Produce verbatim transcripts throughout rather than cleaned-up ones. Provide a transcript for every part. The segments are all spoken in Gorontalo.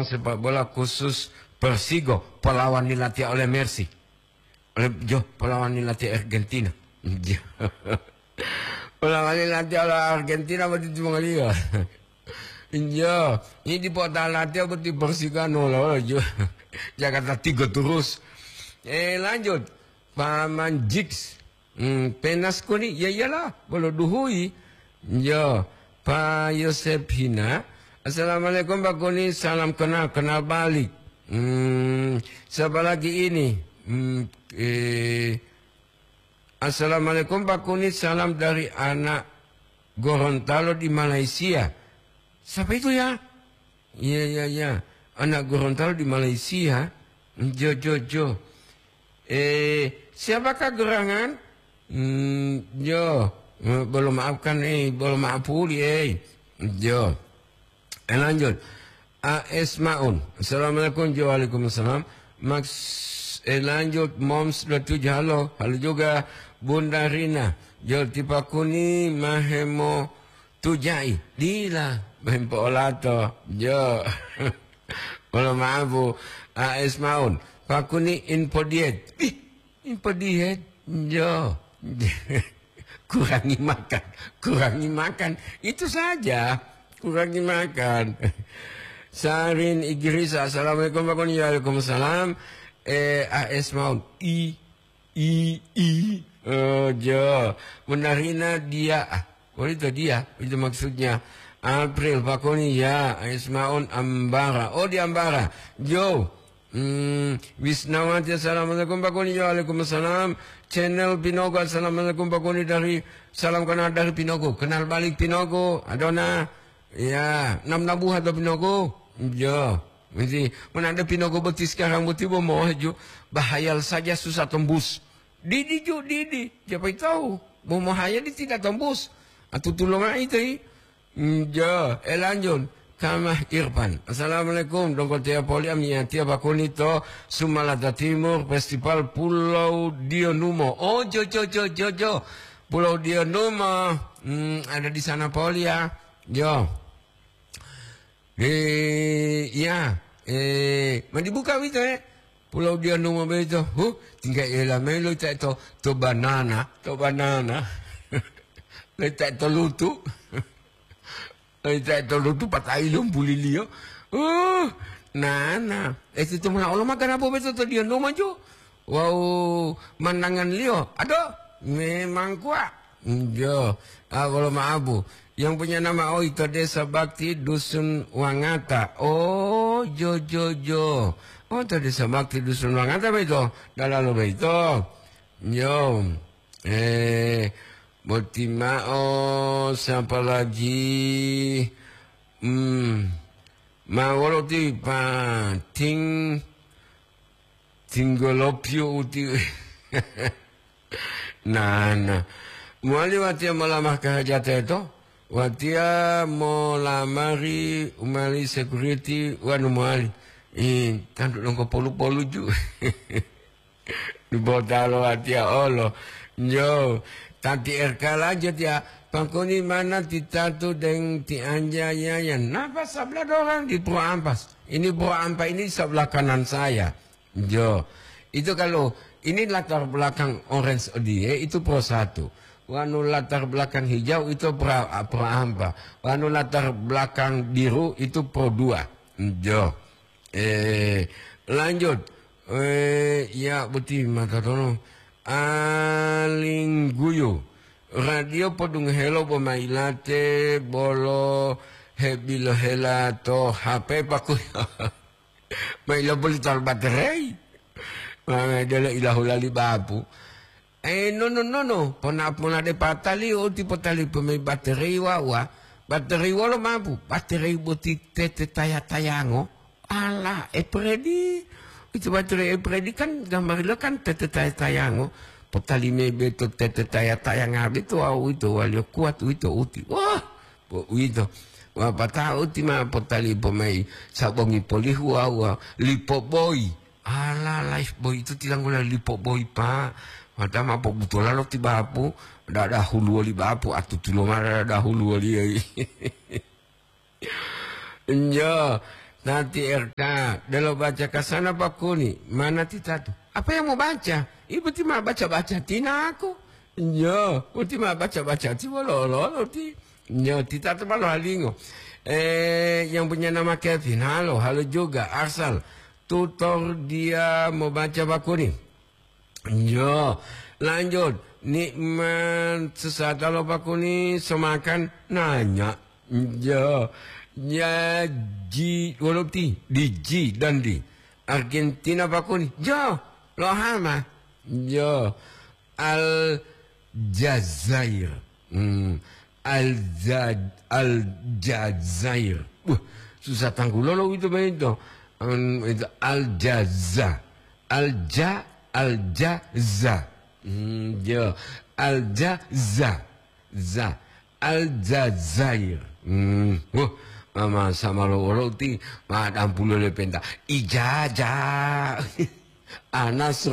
sepak bola khusus Persigo, polawani latiya oleh Messi. Oleh, jo, polawani latiya Argentina. Jo. Polawani latiya oleh Argentina boti timongoliyo. Jo, ini di kota latiya boti Persigo anu lolo, jo. Jakarta Tigo terus. Eh, lanjut. Paman Jiks. Hmm, penas koni? Ya iyalah, bolo duhuyi. Yo, Pa Yosep Hina. Assalamualaikum, Pak Koni, salam kenal, kenal balik. Hmm, siapa lagi ini? Hmm, eh, Assalamualaikum, Pak Koni, salam dari anak Gorontalo di Malaysia. Siapa itu ya? Iya, iya, iya. Anak Gorontalo di Malaysia. Jo, jo, jo. Eh, siapakah gerangan? Hmm, jo. Eh, belum maafkan, eh, belum maaf puli, eh. Jo. Eh, lanjut. A S Maun. Assalamualaikum, jo. Waalaikumsalam. Max, eh, lanjut. Moms dua tujuh, halo. Halo juga, Bunda Rina. Jo, tipa kuni mahemo tujai. Dila, mempo olato. Jo. Mohon maaf, Bu. A S Maun. Pakuni info diet. Ih, info diet. Jo. Kurangi makan. Kurangi makan. Itu saja. Kurangi makan. Sarin Igrisa. Assalamualaikum, Pak Koni. Waalaikumsalam. Eh, A S Maun. I I, i, oh, jo. Menarina dia. Ah, oh, itu dia. Itu maksudnya. April, Pak Koni, ya. Ismaun Ambara. Oh, di Ambara. Jo. Hmm, Wisnawati, assalamualaikum, Pak Koni. Waalaikumsalam. Channel Pinogo, assalamualaikum, Pak Koni, dari, salam kenal dari Pinogo. Kenal balik Pinogo. Adona. Ya, nam nabuha to Pinogo. Jo. Mesti menanda Pinogo boti sekarang boti bo mohaju. Bahayal saja susah tembus. Didi ju, didi. Siapa tahu? Bo mohaya di tidak tembus. Atu tulunga itu, i. Hmm, jo, eh, lanjut. Kamah Irfan. Assalamualaikum. Dongko tia poli amiyatiya bakuni to Sumalata Timur, Festival Pulau Dionumo. Oh, jo, jo, jo, jo, jo. Pulau Dionumo. Hmm, ada di sana poli ya. Jo. Eh, iya. Eh, ma dibuka uwito, eh? Pulau Dionumo boyito. Huh, tingga ela mayi lo ta to, to banana, to banana. Lo ta to lutu. Lo ta to lutu patai lo buliliyo. Uh, nana. Eh, situ mona olo magana bobeto to Dionumo ju. Wawu mandanganliyo, ado, memang kuwa. Jo, ah, wolo maabu. Yang punya nama, oh, itu Desa Bakti Dusun Wangata. Oh, jo, jo, jo. Oh, to Desa Bakti Dusun Wangata beito. Dalalo beito. Jo. Eh, boti mao, siapa lagi? Hmm. Ma wolo ti pating tinggolopio uti. Nah, nah. Mowali watiya molamah kahajate to? Watiya molamari umali security wanu mowali. Ih, tantu dongko polu-polu ju. Dubotalo watiya olo. Jo, tanti R K lanjut ya. Pangkoni mana ti tatu deng ti anja ya, ya. Napa sebelah dorang di Pro Ampas? Ini Pro Ampa ini sebelah kanan saya. Jo. Itu kalau ini latar belakang orange odiye, itu Pro satu. Wanu latar belakang hijau itu Pro, Pro Ampa. Wanu latar belakang biru itu Pro dua. Jo. Eh, lanjut. Eh, ya, boti mata tono. Alingguyu. Radio podungohelo bo mailate bolo hebilohela to H P paku. Mailo boli tal baterei. Ma delo ilahula li bapu. Eh, nono, nono, pona, pona de patali, oti potali pemai baterei wawa. Baterei wolo mapu? Baterei boti tete taya-tayango. Ala, Epredi. Itu baterei Epredi kan gambarilo kan tete taya-tayango. Potali mebe to tete taya-tayanga beto wawu ito waliyo kuat uwito uti. Wah, bo uwito. Wapatao uti ma potali pomai sabongi polihu wawu lipo boyi. Ala, life boy itu tilanggula lipo boy, Pak. Mata ma pobutola lo ti bapu, dada huluwo li bapu, atutulo mara dada huluwo li. Njo, Tati R K, delo baca kasana pakuni, mana titatu? Apa yang mau baca? Ibu ti ma baca-baca tinaku. Yo, uti ma baca-baca ti wolo-wolo ti. Yo, titatu ma lohalingo. Eh, yang punya nama Kevin, halo, halo juga, asal tutor dia mau baca pakuni. Yo, lanjut. Nikmat sesata lo pakuni semakan nanya. Yo, nyaji wolo ti di ji dan di Argentina pakuni. Yo, lo hama. Yo, Aljazair. Hmm. Alja-, Aljazair. Wah, susah tanggulolo itu, Bang, itu. Hmm, itu Aljaza. Alja, Aljaza. Hmm, ya. Aljaza. Za. Aljazair. Hmm. Wah, mama sama lo wolo ti, ma dampulo le penta. Ijaja. Anas.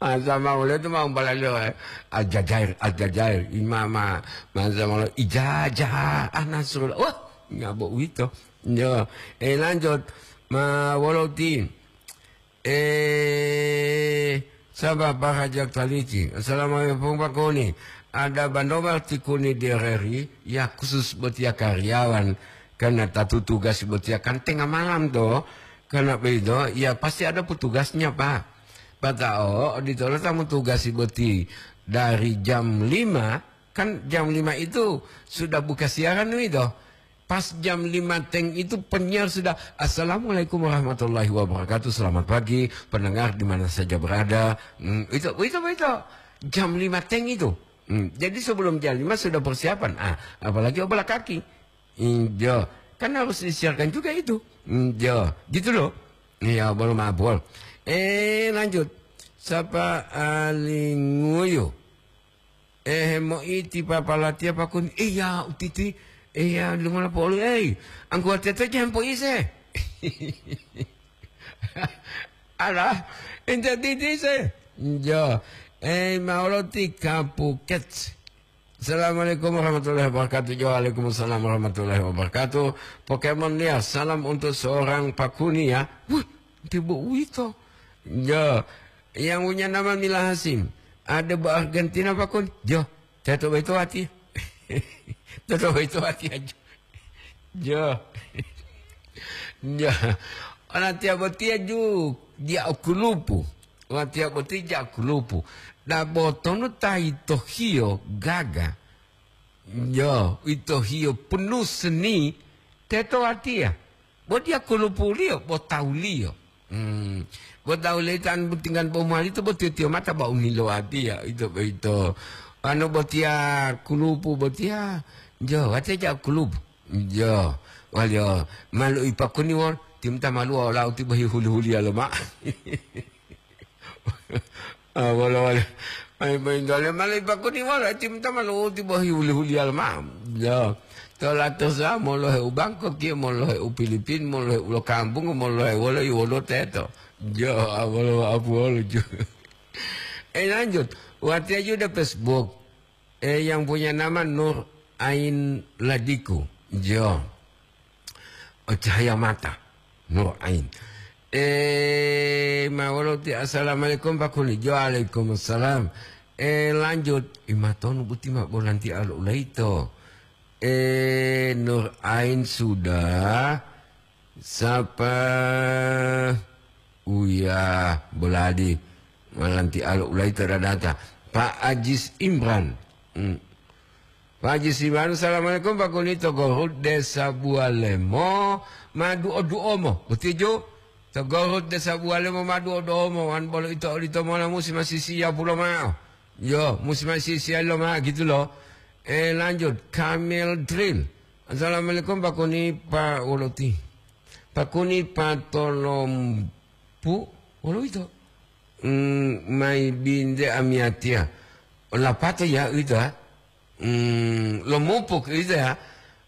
Masa maulo itu mau balalo, eh, Aljazair, Aljazair, imama, masa maulo ijajah, ah, Nasrullah. Wah, nyabo uwito. Yo, eh, lanjut. Ma wolo ti. Eh, sabar, Pak Hajat Taliti. Assalamualaikum, Pak Kuni. Ada bandobar ti Kuni di R R I, ya khusus buat ya karyawan, karena tatu tugas buat ya kan tengah malam toh. Karena begitu, ya pasti ada petugasnya, Pak. Pata'o oditolo ta motugasi boti dari jam lima, kan jam lima itu sudah buka siaran nih toh. Pas jam lima teng itu penyiar sudah, "Assalamualaikum warahmatullahi wabarakatuh, selamat pagi, pendengar di mana saja berada." Hmm, itu, itu, itu. Jam lima teng itu. Hmm, jadi sebelum jam lima sudah persiapan. Ah, apalagi obola kaki. Injo, kan harus disiarkan juga itu. Injo, gitu loh. Iya, belum abol. Eh, lanjut. Sapa Alinguyu? Eh, moiti papa latia pakun. Iya, utiti. Iya, lungola polu. Eh, angkuwa tete jangan po ise. Alah, ente titi se. Injo. Eh, maolo ti kapuket. Assalamualaikum warahmatullahi wabarakatuh. Yo, waalaikumsalam warahmatullahi wabarakatuh. Pokemon dia, salam untuk seorang Pakuni ya. Wah, tibo uwito. Yo, yang punya nama Mila Hasim. Ada bu Argentina Pakun. Yo, teto beto hati. Teto beto hati aja. Jo. Jo. Ona tiya botiya ju, dia okulupu. Watiya boti ja okulupu. Da botonu ta ito hiyo gaga. Jo, ito hiyo penuh seni. Teto watiya. Bo dia kulupuliyo, bo tawuliyo. Hmm. Bo tawu leitan butingan bo mowali to bo tiyo-tiyo mata ba unilo watiya. Ito boyito. Ano botiya kulupu botiya. Jo, watiya ja kulupu. Jo, waliyo, malu ipakuni wol, timta maluwa olau ti bohi huli-huliya loma. Ah, wolo, wolo. Ai, boyintole malu ipakuni wolo, timta maluwa ti bohi huli-huliya loma. Jo, to latosa molohe u Bangkok, kiye molohe u Filipin, molohe u lo kampung, molohe wolo, i wolo teto. Jo, ah, wolo, apu wolo, jo. Eh, lanjut. Watiya ju de Facebook. Eh, yang punya nama Nur Ain Ladiku. Jo. Oh, cahaya mata. Nur Ain. Eh, ma wolo ti, "Assalamualaikum, Pak Kuli." Jo, waalaikumsalam. Eh, lanjut. Imatonu buti ma bolanti alo ulaito. Eh, Nur Ain sudah. Sapa? Uya, boladi. Malanti alo ulai tadadata. Pak Ajis Imran. Hmm. Pak Ajis Imran, "Assalamualaikum, Pak Kuni, to Gorut Desa Bualemo, madu oduomo." Betul, Jo? To Gorut Desa Bualemo, madu oduomo. Wan bolo ito olito mola musi masih siap pulo mao. Yo, musi masih siap lo mao, gitu loh. Eh, lanjut. Kamel Drill. "Assalamualaikum, Pak Kuni, Pak Woloti." Pakuni patolompu, wolo uwito? Mm, mayi binte amiyatiya. Lapato ya uwito, ha? Mm, lomupuk uwito, ya.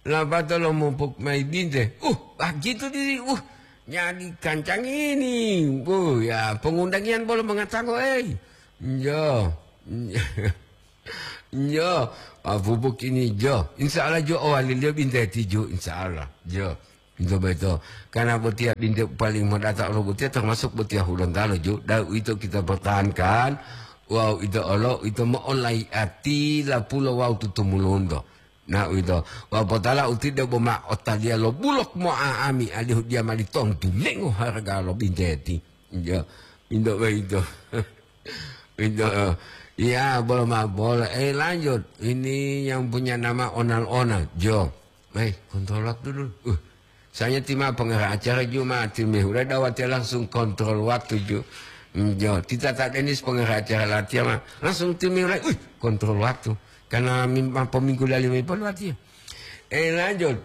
Lapato lomupuk mayi binte. Uh, ah, gitu di, uh, nyadi kancang ini. Uh, ya, pengundangian bolo mengatango, eh. Yo. Yo, ah, pupuk ini, jo. Insya Allah, jo, oh, aliliyo binte tiju, insya Allah. Jo. Ito boyito, karena botiya binte paling modata olo botiya termasuk botiya Hulontalo ju, dan ito kita pertahankan, wawu ito olo ito mo'olaiati lapulo wawu tutumulunto. Nah, uwito. Wa potala uti debo ma otaliya lo bulok mo'a'ami alihu diya mali tontu lengo harga lo binteti. Iya, indo boyito. Indo, iya, bolo ma bola. Eh, lanjut. Ini yang punya nama Onal-onal. Jo. Eh, kontrol waktu dulu. Uh, saya tima pengarah acara Jumat, tim Mehura dawatnya langsung kontrol waktu ju. Hmm, jo, tita tak Denis pengarah acara latihan mah. Langsung tim Mehura, wih, kontrol waktu. Karena mim-, apa minggu lali mipon latihan. Eh, lanjut.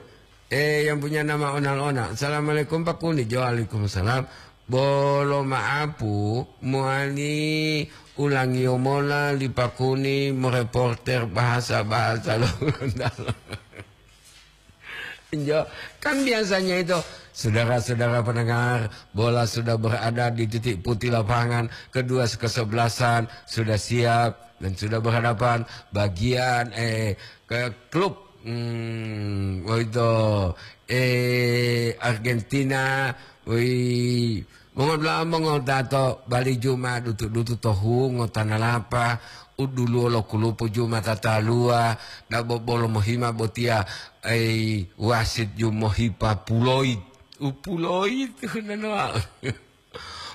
Eh, yang punya nama Onal-onal. Assalamualaikum Pak Kuni. Jo, waalaikumsalam. Bolo maapu, muani ulangiyo mola li Pak Kuni mereporter bahasa-bahasa lo. Jo, kan biasanya itu, saudara-saudara pendengar, bola sudah berada di titik putih lapangan, kedua kesebelasan sudah siap dan sudah berhadapan bagian, eh, ke klub, hmm, oh itu, eh, Argentina, woi, Mongodula'a mongotato, bali ju ma dutu-dutu to hungo tanalapa, u duluwo lo kulupu ju ma tataluwa, dabo bolo mohima botiya, ei, wasit ju mohipa puloit. U puloit, nanoa.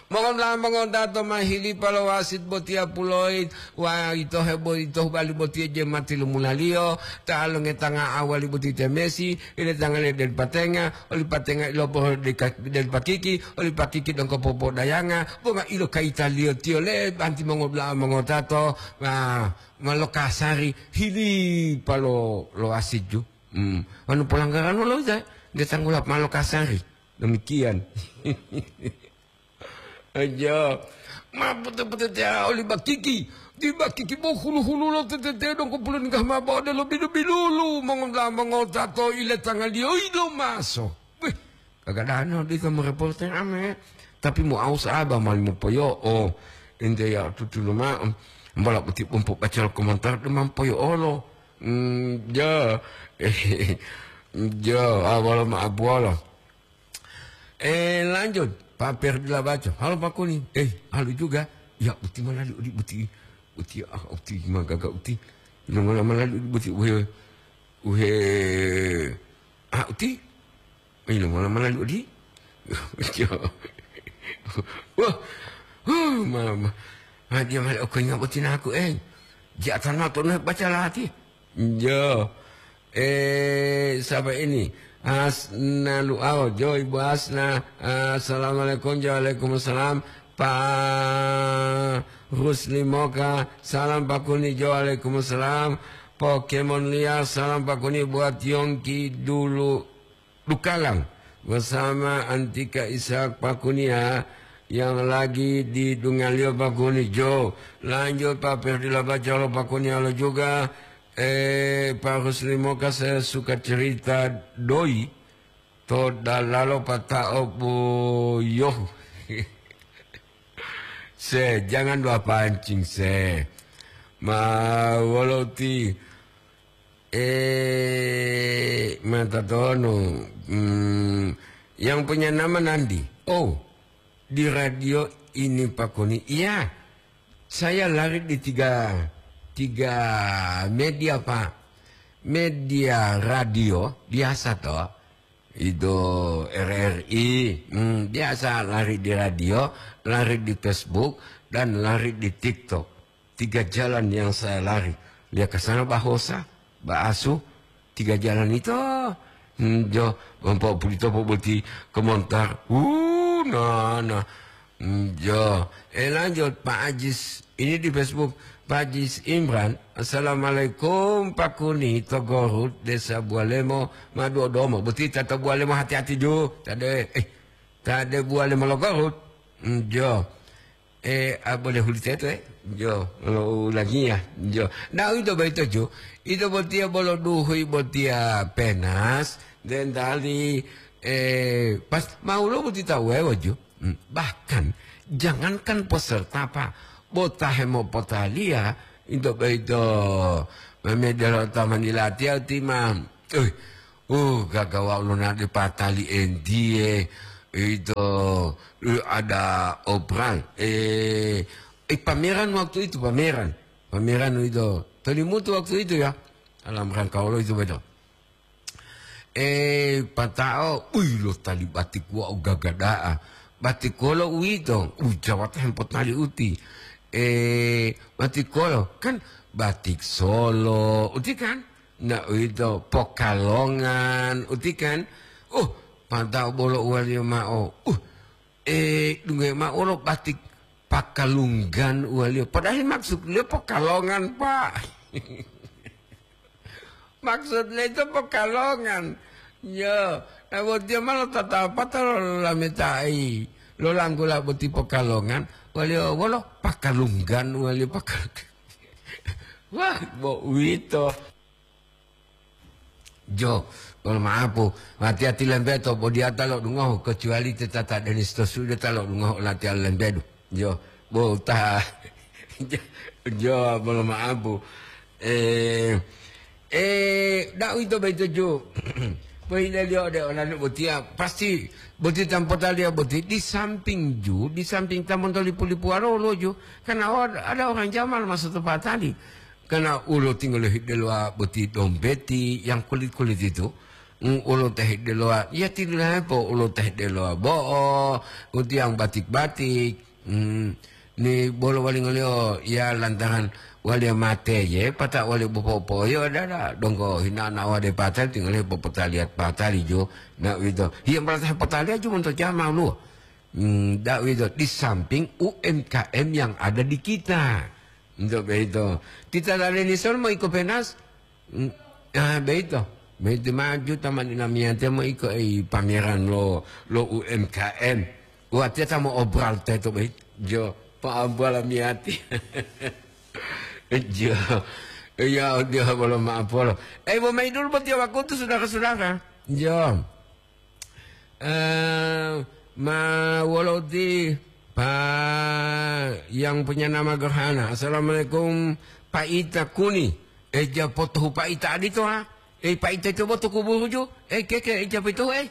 Mongodula'a mongotato ma hilipa lo wasit botiya puloit, wa ito hebo ito bali botiya je mati lumulaliyo, ta longetanga awali boti te Messi, ile tangale den patenga, oli patenga iloporo de ka-, den pakiki, oli pakiki dongko popodayanga, bonga ilo kaitaliyo tiyo le banti mongodula'a mongotato, ma, ma lokasari hili palo lo asiju. Hmm. Anu pelanggaran lo loja, de tanggulap ma lokasari. Demikian. Aja. Ma pute-pute te oli bakiki. Di bakiki bo hulu-hulu lo tetete dong kumpulun gah ma bo de lo bilu-bilulu. Mongonda mongota to ile tangaliyo ilo maso. Wih, kagak dano di kamu reporter ame. Tapi mau aus aba mali mau poyo. Oh, ente ya tutulu ma. Mbala buti umpu baca komentar de mampoyo olo. Hmm, ya. Ya, awal ma abuala. Eh, lanjut, Pak Perdi Labaco. Halo, Pak Kuni. Eh, halo juga. Ya, uti mana li udi uti? Uti, ah, uti magaga uti. Ilo mana mana li udi uti? Uhe, uhe, ah, uti. Ilo mana mana li udi? Wah, huh, mama. Ah, dia malah oke nggak uti naku, eh. Jatan ma tonu baca lati. Yo. Eh, siapa ini? Asna Luau, jo, Ibu Asna. Assalamualaikum, jo, waalaikumsalam. Pak Rusli Moka, salam Pak Kuni, jo, waalaikumsalam. Pokemon liar, salam Pak Kuni buat Yongki dulu Dukalang bersama Antika Ishak Pak Kuni ya, yang lagi di Dungalio Pak Kuni, jo. Lanjut Pak Perdi Labacalo Pak Kuni, halo juga. Eh, Pak Rusli Moka, saya suka cerita doi to dalalo pata'o boyohu. Se, jangan dua pancing, se. Ma wolo ti, eh, mata tonu. Hmm, yang punya nama Nandi. Oh, di radio ini Pak Kuni. Iya, saya lari di tiga, tiga media, Pak. Media radio biasa toh. Itu R R I, hmm, biasa lari di radio, lari di Facebook, dan lari di TikTok. Tiga jalan yang saya lari. Lia kasana bahosa, baasu, tiga jalan itu. Hmm, jo, ompo pulito po boti komentar. Uh, nah, nah. Hmm, jo. Eh, lanjut, Pak Ajis. Ini di Facebook. Pak Ajis Imran. Assalamualaikum, Pak Kuni, to Gorut, Desa Bualemo, Maduo Domo. Boti tata Bualemo, hati-hati ju. Tade, eh, tade Bualemo lo Gorut. Hmm, jo. Eh, ah, boleh huli teto, eh? Jo, lo ulangi ya. Jo. Nah, itu baik itu, Jo. Itu botia bolo duhui botia penas. Dan tali, eh, pas mau lo boti tahu, eh, waju. Hmm, bahkan, jangankan peserta, Pak. Bota hemo potalia, itu baik itu. Memedelo taman dilatia, timam. Eh, Uh, gagawa ulonade patali entiye, ito, eh, ada obral. Eh, eh, pameran waktu itu, pameran. Pameran itu. Tolimutu waktu itu ya. Dalam rangka Allah itu betul. Eh, patao, ui, lo tali batik wa gagada'a. Batik kolo uwito, uh, jawata hempotali uti. Eh, batik kolo, kan batik Solo, uti kan? Nah, uwito, Pokalongan, uti kan? Uh, patao bolo uwaliyo ma'o. Uh, eh, dungge ma'o lo batik Pakalunggan uwaliyo. Padahal maksud liyo Pokalongan, Pak. Maksud liyo itu Pokalongan. Yo, nah, bo tiyo ma lotatapata lo lameta'i, lo langgula boti Pokalongan, waliyo wolo Pakalunggan, waliyo Pakal-, wah, bo uwito. Jo, bolo ma'apu, hati-hati lembeto, bo diya ta lo'odungohu, kecuali te tata Denis to sude ta lo'odungohu olatiya lembedu. Jo, bo ta, jo, jo, bolo ma'apu. Eh, eh, da'u ito boyito ju. Pohileliyo ode olami botiya, pasti boti tampotaliyo boti di samping ju, di samping ta monto lipu-lipuwalo woluwo ju. Karena ada, ada orang jamal masuk to patali. Karena ulo tinggal hidelowa boti dompeti yang kulit-kulit itu. Mm, ulo teh delowa, ya tilahepo ulo teh delowa bo'o, uti yang batik-batik. Mm, ni bolo walingoliyo, ya lantaran waliya mate ye, pata waliya bopo'opo'oyo dada, donggo hinana wade patali, tinggal popotaliya patali jo, na uwito. Hiya malah potaliya ju monto jama uluwo. Mm, da uwito, di samping U M K M yang ada di kita. Untuk begitu. Kita lale ni son mo iko penas? Mm, ah, beito. Beito maju taman inamiyate mo iko, eh, pameran lo, lo U M K M. Watiya ta mo obral teto, beit. Jo, pa obral amiyati. Jo. Iya, dia bolo maaf polo. Eh, bo mayi dulu buat dia waktu itu, saudara-saudara. Jo. Eh, ma wolo uti pa yang punya nama gerhana. Assalamualaikum, Pak Ita Kuni. Eh, ja potohu Pak Ita adito, ha? Eh, Pak Ita itu boto kuburu ju. Eh, keke, eh, ja itu, eh.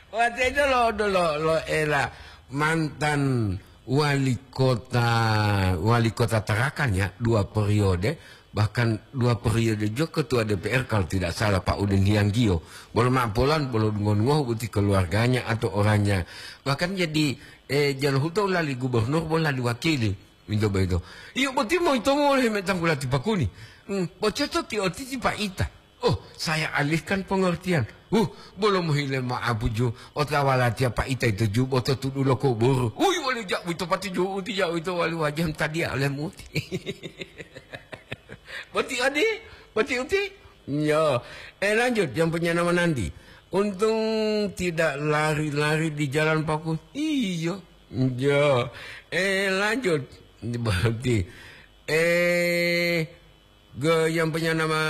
Waktu itu lo, lo, lo, lo ela mantan wali kota, wali kota Tarakan ya, dua periode, bahkan dua periode juga ketua D P R kalau tidak salah, Pak Udin Hianggiyo. Bolo mapolan, bolo ngon-ngohu boti keluarganya atau orangnya. Bahkan jadi, eh, Jalohuto lali gubernur, bolo lali wakili. Minto boyito. Iyo boti mo ito mo oleh metang kula tipakuni. Hmm, bocoto ti otiti Pak Ita. Oh, saya alihkan pengertian. Uh, bolo mohile ma'apu ju, otawa latiya Pak Ita itu ju, boto tudu lo kuburu. Uy, wali jak wito pati ju, uti jak wito wali wajah tadiya oleh muti. Boti adi, boti uti. Yo, eh, lanjut, yang punya nama Nandi. Untung tidak lari-lari di jalan Paku. Iyo. Yo, eh, lanjut. Berarti, eh, Ge-, yang punya nama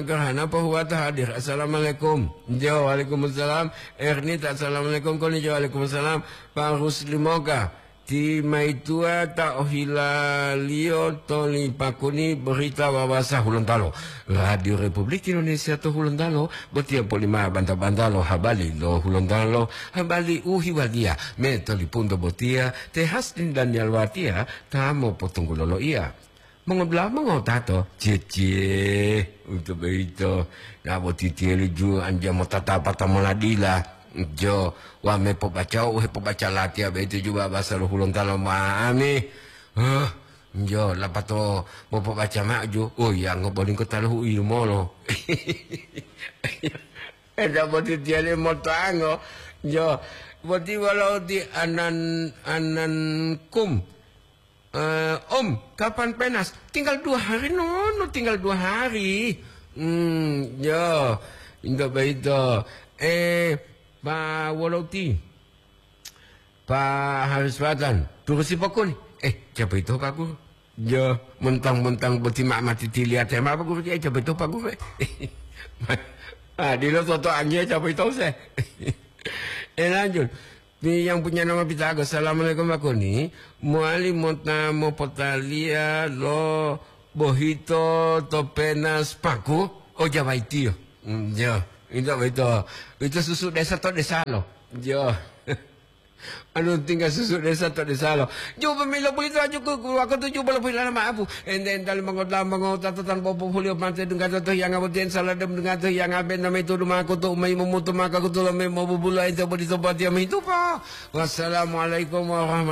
Gerhana Pohuwata hadir. Assalamualaikum. Jo, waalaikumsalam. Ernita, assalamualaikum. Koni jo, waalaikumsalam. Pak Rusli Moga. Ti maituwa ta ohilaliyo toli pakuni berita wawasa Hulontalo. Radio Republik Indonesia to Hulontalo, botiya polima banta-bantalo habali lo Hulontalo, habali u hiwaliya. Me tolipunto botiya, te Hasdin dan Yalwatiya, ta mopotunggulo loiya. Mongodula'a mongotato, ciye-ciye, untuk boyito, na bo titiyelu ju anja motatapata moladila, jo, wa me pobaca u hepobaca latiya boyito ju bahasa lo Hulontalo ma'ami. Huh, jo, lapato mopobaca ma'o ju, oh, yango bolinggo taluhu u yilumolo. Eda bo titiyelu motango, jo, boti walau ti anan-, anankum. Eh, Om, kapan penas? Tinggal dua hari, Nono, tinggal dua hari. Hmm, yo, inta baita. Eh, Pak Woloti, Pak Haris Watan, turusi pokoni. Eh, siapa itu, Pak Guru? Yo, mentang-mentang boti ma mati tiliate ma, Pak Guru, eh, siapa itu, Pak Guru? Ah, dilo toto anggia, siapa itu, se? Eh, lanjut. Ti yang punya nama Pitago, "Assalamualaikum, Pak Kuni. Mowali mota mopotaliya lo bohito to penas Paku?" Oh, Jawa itiyo. Mm, yo. Itu, itu, itu susu desa to desa lo. Yo. Anu tinggal susu desa to desa lo. Juba milo bulito aju ku, ku aku tu juba lo pulana maapu. Ente entali mangota mangota tatan popo pulio mate dunga to yang abotien salah dem dunga to yang aben nama itu rumah aku tu mai memutu maka aku tu lo mai mau bubulo ente bodi sobat yang itu pa. Wassalamualaikum warahmatullahi